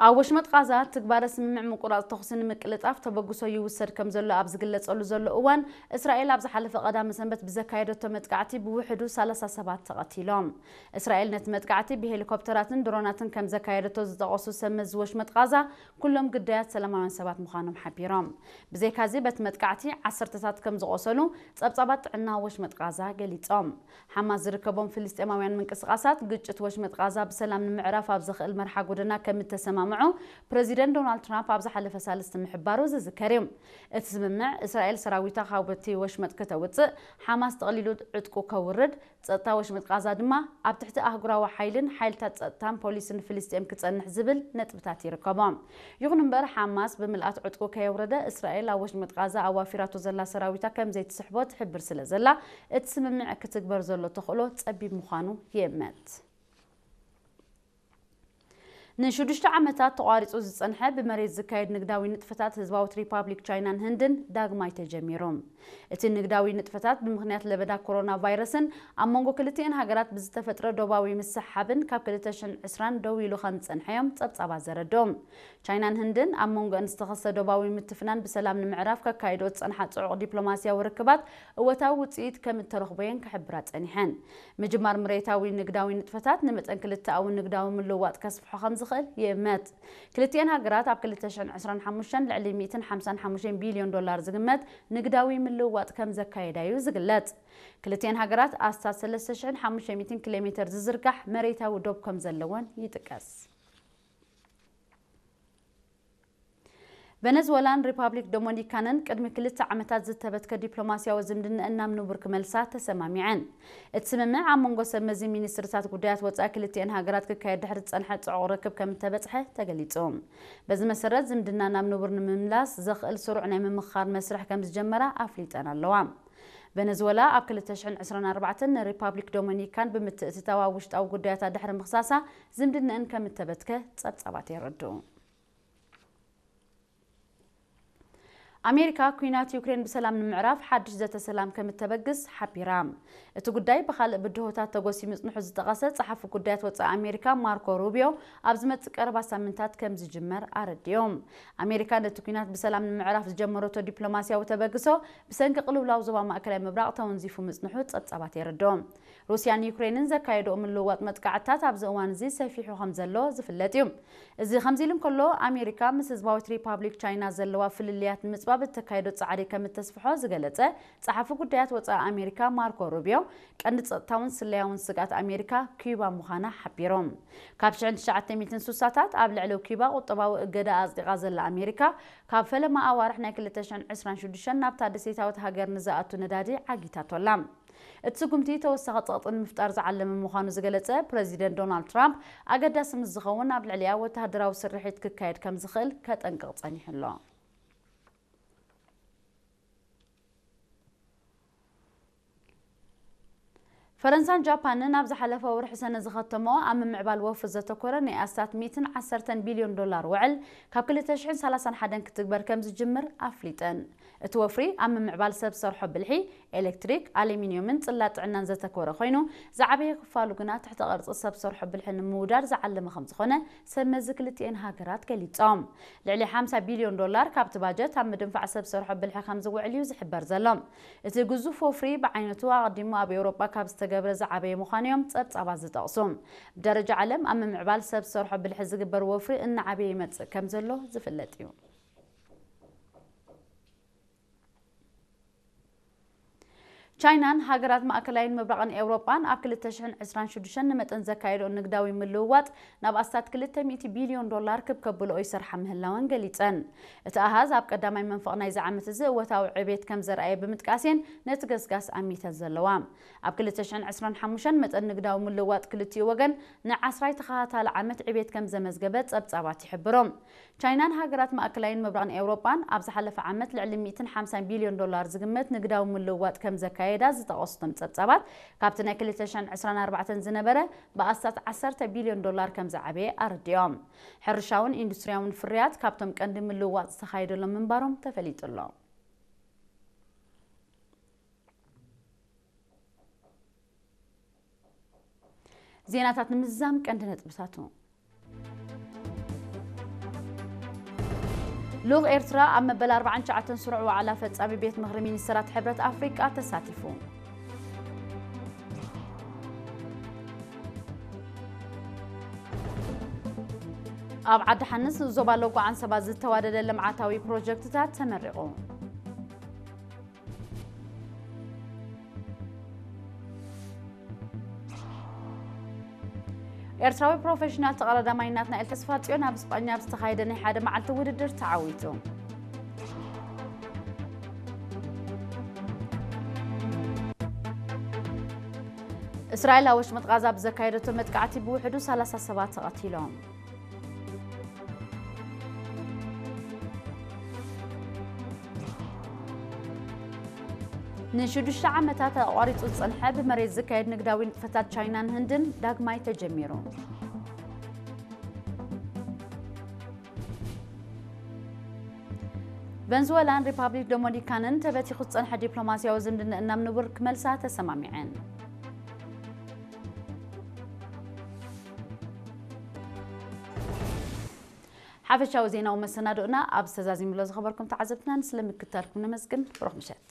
ኣብ ወሽመጥ ቃዛ ትግባረ ስምምዕ ምቁራጽ ተኹሲ ንምቅልጣፍ ተበግሶ ይውሰድ ከም ዘሎ ኣብ ዝግለጸሉ ዘሎ እዋን፣ እስራኤል ኣብ ዝሓለፈ ቀዳመ ሰንበት ብዘካየደቶ መጥቃዕቲ ብውሕዱ ሰላሳ ሰባት ተቐቲሎም። እስራኤል ነቲ መጥቃዕቲ ብሄሊኮፕተራትን ድሮናትን ከም ዘካየደቶ ዝጠቐሱ ሰብ መዚ ወሽመጥ ቃዛ፣ ኩሎም ግዳያት ሰላማውያን ሰባት ምዃኖም ሓቢሮም። ብዘይካዚ በቲ መጥቃዕቲ ዓሰርተታት ከም ዝቖሰሉ ጸብጻባት ጥዕና ወሽመጥ ቃዛ ገሊጾም። ሓማስ ዝርከቦም ፍልስጤማውያን ምንቅስቓሳት፣ ግጭት ወሽመጥ ቃዛ ብሰላም ንምዕራፍ ኣብ ዘኽእል መርሓ ጎደና ከም እተሰማምዑ ፕረዚደንት ዶናልድ ትራምፕ ኣብ ዝሓለፈ ሳልስቲ ምሕባሩ ዝዝከር እዩ። እቲ ስምምዕ፣ እስራኤል ሰራዊታ ካብቲ ወሽመጥ ከተውጽእ፣ ሓማስ ጠቕሊሉ ዕጥቁ ከውርድ፣ ጸጥታ ወሽመጥ ቃዛ ድማ ኣብ ትሕቲ ኣህጉራዊ ሓይልን ሓይልታት ጸጥታን ፖሊስን ፍልስጤም ክጸንሕ ዝብል ነጥብታት ይርከቦ። ይኹን እምበር፣ ሓማስ ብምልኣት ዕጥቁ ከየውረደ፣ እስራኤል ኣብ ወሽመጥ ቃዛ ኣዋፊራቶ ዘላ ሰራዊታ ከም ዘይትስሕቦ ትሕብር ስለ ዘላ፣ እቲ ስምምዕ ክትግበር ዘሎ ተኽእሎ ጸቢብ ምዃኑ ይእመት። ንሽዱሽተ ዓመታት ተቋሪጹ ዝጸንሐ ብመሬት ዝካየድ ንግዳዊ ንጥፈታት ህዝባዊት ሪፓብሊክ ቻይናን ህንድን ዳግማይ ተጀሚሩ። እቲ ንግዳዊ ንጥፈታት ብምኽንያት ለበዳ ኮሮና ቫይረስን ኣብ መንጎ ክልቲኤን ሃገራት ብዝተፈጥረ ዶባዊ ምስሕሓብን ካብ ክልተ ሽሕን ዕስራን ደው ኢሉ ከም ዝጸንሐ እዮም ጸብጻባት ዘረድኡ። ቻይናን ህንድን ኣብ መንጎአን ዝተኸስተ ዶባዊ ምትፍናን ብሰላም ንምዕራፍ ከካይድኦ ዝጸንሓ ጽዑቕ ዲፕሎማስያዊ ርክባት እወታዊ ውጽኢት ከም እተረኽቦ እየን ክሕብራ ጸኒሐን። ምጅማር መሬታዊ ንግዳዊ ንጥፈታት ንመጠን ክልተኣዊ ንግዳዊ ምልውዋጥ ከስፍሖ ከም ዝኽእል ይእመት። ክልቲኤን ሃገራት ኣብ ክልተ ሽሕን ዕስራን ሓሙሽተን ልዕሊ ሚእትን ሓምሳን ሓሙሽተን ቢልዮን ዶላር ዝግመት ንግዳዊ ምልውዋጥ ከም ዘካየዳ እዩ ዝግለጽ። ክልቲኤን ሃገራት ኣስታት ሰለስተ ሽሕን ሓሙሽተ ሚእትን ኪሎ ሜተር ዝዝርጋሕ መሬታዊ ዶብ ከም ዘለወን ይጥቀስ። ቨነዝወላን ሪፓብሊክ ዶሚኒካንን ቅድሚ ክልተ ዓመታት ዝተበትከ ዲፕሎማስያዊ ዝምድናኣን ናብ ንቡር ክመልሳ ተሰማሚዐን። እቲ ስምምዕ ኣብ መንጎ ሰብ መዚ ሚኒስትርታት ጉዳያት ወጻኢ ክልቲኤን ሃገራት ክካየድ ድሕሪ ዝጸንሐ ጽዑቕ ርክብ ከም እተበጽሐ ተገሊጹ። በዚ መሰረት ዝምድና ናብ ንቡር ንምምላስ ዘኽእል ስሩዕ ናይ ምምኽኻር መስርሕ ከም ዝጀመራ ኣፍሊጠን ኣለዋ። ቨነዝወላ ኣብ ክልተ ሽሕን ዕስራን ኣርባዕተን ንሪፓብሊክ ዶሚኒካን ብምትእትታዋ ውሽጣዊ ጉዳያታ ድሕሪ ምኽሳሳ ዝምድናኣን ከም እተበትከ ጸብጻባት የረድኡ። ኣሜሪካ ኲናት ዩክሬን ብሰላም ንምዕራፍ ሓድሽ ዘተ ሰላም ከም እተበግስ ሓቢራ። እቲ ጉዳይ ብኻልእ ብድሆታት ተጎሲ ምጽንሑ ዝጠቐሰ ጸሓፊ ጉዳያት ወጻኢ ኣሜሪካ ማርኮ ሩቢዮ ኣብ ዝመጽእ ቀረባ ሳምንታት ከም ዝጅመር ኣረዲኦም። ኣሜሪካ ነቲ ኲናት ብሰላም ንምዕራፍ ዝጀመረቶ ዲፕሎማስያዊ ተበግሶ ብሰንኪ ቅልውላው ዞባ ማእከላይ ምብራቕ ተወንዚፉ ምጽንሑ ጸብጻባት የረድኦ። ሩስያን ዩክሬንን ዘካየድኦ ምልውዋጥ መጥቃዕትታት ኣብዚ እዋን እዚ ሰፊሑ ከም ዘሎ ዝፍለጥ እዩ። እዚ ከምዚ ኢሉ እንከሎ፣ ኣሜሪካ ምስ ህዝባዊት ሪፓብሊክ ቻይና ዘለዋ ፍልልያት ንምጽባብ እተካየዶ ጻዕሪ ከም እተስፍሖ ዝገለጸ ጸሓፊ ጉዳያት ወጻኢ ኣሜሪካ ማርኮ ሩቢዮ፣ ቀንዲ ጸጥታውን ስለያውን ስግኣት ኣሜሪካ ኪዩባ ምዃና ሓቢሮም። ካብ ሽሕን ትሽዓተ ሚእትን ስሳታት ኣብ ልዕሊ ኪዩባ ቁጠባዊ እገዳ ኣጽዲቓ ዘላ ኣሜሪካ፣ ካብ ፈለማ ኣዋርሕ ናይ ክልተ ሽሕን ዕስራን ሽዱሽተን ናብታ ደሴታዊት ሃገር ንዝኣቱ ነዳዲ ዓጊታቶ ኣላ። እቲ ስጉምቲ ተወሳኺ ጸቕጢ ንምፍጣር ዝዓለመ ምዃኑ ዝገለጸ ፕረዚደንት ዶናልድ ትራምፕ፣ ኣገዳሲ ምስ ዝኸውን ኣብ ልዕሊኣ ወተሃደራዊ ስርሒት ክካየድ ከም ዝኽእል ከጠንቅቕ ጸኒሑ ኣሎ። ፈረንሳን ጃፓንን ኣብ ዝሓለፈ ወርሒ ሰነ ዝኸተመኦ ኣብ ምምዕባል ወፍሪ ዘተኮረ ናይ ኣስታት ሚእትን ዓሰርተን ቢልዮን ዶላር ውዕል ካብ ክልተ ሽሕን ሰላሳን ሓደን ክትግበር ከም ዝጅምር ኣፍሊጠን። እቲ ወፍሪ ኣብ ምምዕባል ሰብ ሰርሖ ብልሒ፣ ኤሌክትሪክ፣ ኣሉሚንዮምን ጽላት ጥዕናን ዘተኮረ ኮይኑ፣ ዝዓበየ ክፋሉ ግና ትሕተ ቅርጺ ሰብ ሰርሖ ብልሒ ንምውዳድ ዝዓለመ ከም ዝኾነ ሰብ መዚ ክልቲኤን ሃገራት ገሊጾም። ልዕሊ ሓምሳ ቢልዮን ዶላር ካብቲ ባጀት ኣብ ምድንፋዕ ሰብ ሰርሖ ብልሒ ከም ዝውዕል እዩ ዝሕበር ዘሎ። እቲ ግዙፍ ወፍሪ ብዓይነቱ ኣቐዲሙ ኣብ ኤውሮጳ ካብ ዝተገብረ ዝዓበየ ምዃኑ እዮም ጸብጻባት ዝጠቕሱ። ብደረጃ ዓለም ኣብ ምምዕባል ሰብ ሰርሖ ብልሒ ዝግበር ወፍሪ እናዓበየ ይመጽእ ከም ዘሎ ዝፍለጥ እዩ። ቻይናን ሃገራት ማእከላይን ምብራቕን ኤውሮጳን ኣብ ክልተ ሽሕን ዕስራን ሽዱሽተን ንመጠን ዘካየድኦ ንግዳዊ ምልውዋጥ ናብ ኣስታት ክልተ ሚእቲ ቢልዮን ዶላር ክብ ከብልኦ ይሰርሓ ምህላወን ገሊጸን። እቲ ኣሃዝ ኣብ ቀዳማይ መንፈቕ ናይዚ ዓመት እዚ እወታዊ ዕቤት ከም ዘርኣየ ብምጥቃስ እየን ነቲ ገስጋስ ኣሚተን ዘለዋ። ኣብ ክልተ ሽሕን ዕስራን ሓሙሽተን መጠን ንግዳዊ ምልውዋጥ ክልቲኡ ወገን ንዓስራይ ተኸታታሊ ዓመት ዕቤት ከም ዘመዝገበ ጸብጻባት ይሕብሩ። ቻይናን ሃገራት ማእከላይን ምብራቕን ኤውሮጳን ኣብ ዝሓለፈ ዓመት ልዕሊ ሚእትን ሓምሳን ቢልዮን ዶላር ዝግመት ንግዳዊ ምልውዋጥ ከም ዘካየዳ ዝጠቐሱ እቶም ጸብጻባት፣ ካብቲ ናይ ክልተ ሽሕን ዕስራን ኣርባዕተን ዝነበረ ብኣስታት ዓሰርተ ቢልዮን ዶላር ከም ዝዓበየ ኣረዲኦም። ሕርሻውን ኢንዱስትርያውን ፍርያት ካብቶም ቀንዲ ምልውዋጥ ዝተኻየደሎም ምንባሮም ተፈሊጡ ኣሎ። ዜናታት ንምዝዛም ቀንዲ ነጥብታቱ። ልኡኽ ኤርትራ ኣብ መበል ኣርባዓን ትሽዓተን ስሩዕ ዋዕላ ፈጻሚ ቤት ምኽሪ ሚኒስተራት ሕብረት ኣፍሪቃ ተሳቲፉ። ኣብ ዓዲ ሓንስ ዞባ ሎጎ ዓንሰባ ዝተዋደደ ልምዓታዊ ፕሮጀክትታት ተመሪቑ። ኤርትራዊ ፕሮፌሽናል ተቐዳዳማይ ናትናኤል ተስፋጽዮን ኣብ ስጳኛ ኣብ ዝተኻየደ ናይ ሓደ መዓልቲ ውድድር ተዓዊቱ። እስራኤል ኣብ ወሽመጥ ቓዛ ብዘካየደቶ መጥቃዕቲ ብውሕዱ ሰላሳ ሰባት ተቐቲሎም። ንሽዱሽተ ዓመታት ኣቋሪጹ ዝጸንሐ ብመሬት ዝካየድ ንግዳዊ ንጥፈታት ቻይናን ህንድን ዳግማይ ተጀሚሩ። ቨንዙዌላን ሪፓብሊክ ዶሚኒካንን ተበቲኹ ዝጸንሐ ዲፕሎማስያዊ ዝምድንእና ምንውር ክመልሳ ተሰማሚዐን። ሓፈሻዊ ዜናዊ መሰናድኡና ኣብ ዝተዛዚምሎ ዝኸበርኩም ተዓዘብትና ንስለ ምክታልኩም ነመስግን። ብሩኽ ምሸት።